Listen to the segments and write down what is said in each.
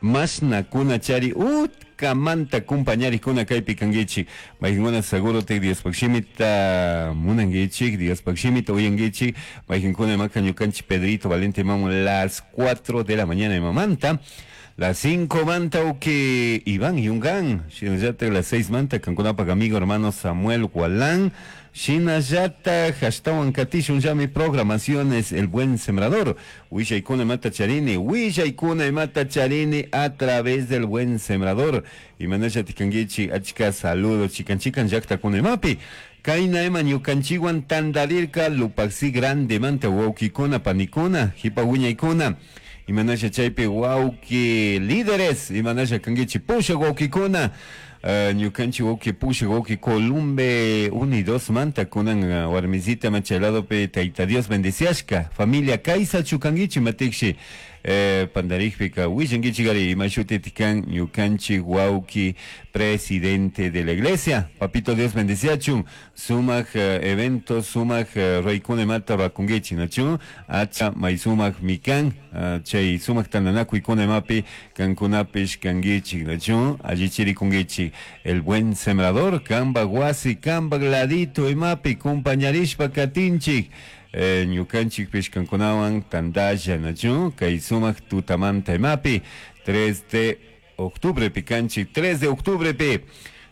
Mashnacuna chari utcamanta compañaricuna kaypi kankichik. Mayqinkuna segurotik Diospaq shimita munankichik, Diospaq shimita uyankichik. Mayqinkuna imaka ñukanchik Pedrito Valente imamun las 4 de la mañana imamanta. Las 5 manta uki Iván Yungan, shinallatak las 6 manta kankunapak amigo hermano Samuel Gualán, shinallatak ashtawan katishun llami programaciones El Buen Sembrador, willaykuna imata charini, willaykuna imata charini a través del Buen Sembrador, imanallatik kankichik achka saludos chikan chikan llaktakuna imapi. Kayna ima ñukanchikwan tantarirka Lupaxi grandemanta wawkikuna panikuna, hipa wiñaykuna. Imanasha chaypi wawki líderes, imanasha kankichik pushak wawkikuna, ñukanchik wawki pushak wawki Columbe Unidos manta kunan warmisita chay ladopi Tayta Dios bendiciashka, familia kaysachu kankichik matikshi pandarikpika willankichik ari ima shutitik kan ñukanchik wawki presidente de la iglesia. Papito Dios bendiciachun, sumak evento, sumak raykuna imata rakunkichik, nachu? Acha may sumak mikan, chay sumak tantanakuykuna imapi kankunapish kankichik, nachu? Allichirikunkichik. El Buen Sembrador, kanpak wasi, kanpak ladito imapi compañarishpa katinchik. Ñukanchikpish kankunawan tantalla, nachu? Kay sumak tutamanta imapi 3 de octubre pi kanchik, 3 de octubre pi.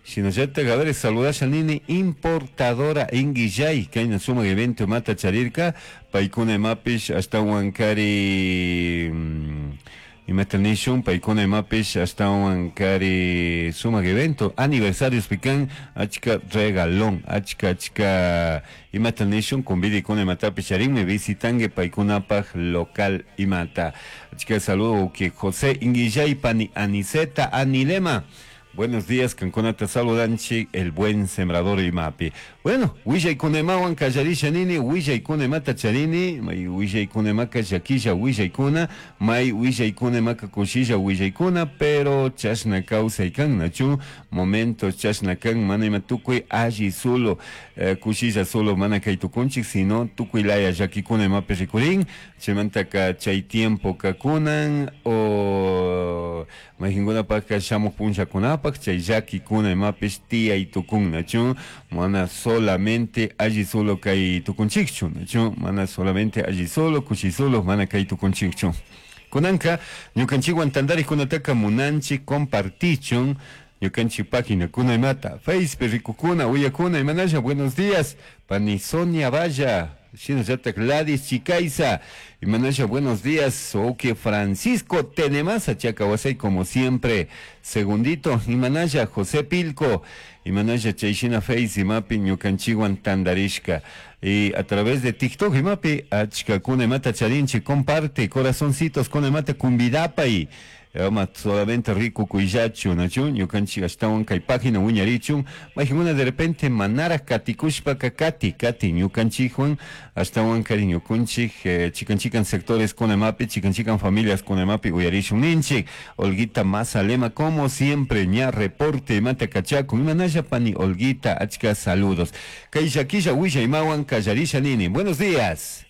Shinallatak, a ver, saludasha nini importadora Inguillay, kayna sumak evento imata charirka, paykuna imapish ashtawan kari, imata nishun, paykuna imapish ashtawan kari sumak evento, aniversarios pikan, achka regalón, achka, achka, imata nishun, convidikuna imatapish charinmi, visitangue paykunapaj local imata. Achka saludo que José Inguillay, pani Aniceta, Anilema. Buenos días, kankunata saludanchik, el buen sembrador imapi. Bueno, willaykunemawan kallarisha nini, willaykunemata charini, may willaykunemaka llakilla willaykuna, may willaykunemaka kushilla willaykuna, pero chashna kawsay kan, nachu? Momento chashna kan, mana ima tukuy alli solo, kushilla solo mana kay tukunchik, sino tukuy laya llakikuna imapi rikurin, chaymantaka chay tiempo kakunan, o mayqinkunapaqqa shamuq punllakunapaq chay llakikuna imapish tiyay tukun, nachu? Mana solamente alli solo kay tukunchikchu, nachu? Mana solamente alli solo, kushi solo, mana kay tukunchikchu. Kunanka ñukanchikwan tantarikunataka munanchik compartichun ñukanchik página kuna imata, Facebook rikukuna, uyakuna, imanasha, buenos días, pani Sonia Valla, shinallatak Gladys Chicaiza, imanasha, buenos días, oke Francisco Tenemasa, Chacawasay, como siempre, segundito, imanasha, José Pilco, imanasha, chayshina Face imapi ñukanchikwan tandarishka, y a través de TikTok imapi, achkakuna imata charinchi, comparte, corazoncitos, kuna imata kumbidapay, ama solamente rico kuillachu, nachu, ñukanchik ashtawan kay página wiñarichun, mayqinkuna de repente manara katikushpa ka kati, kati ñukanchikwan, ashtawan kari ñukunchik, chikan chikan sectores kuna imapi, chikan chikan familias kuna imapi uyarishun ninchik. Olguita Mazalema, como siempre, ña reporte imata kachakun, imanalla pani Olguita, achka saludos. Kay llakilla willa imawan kallarisha nini. Buenos días.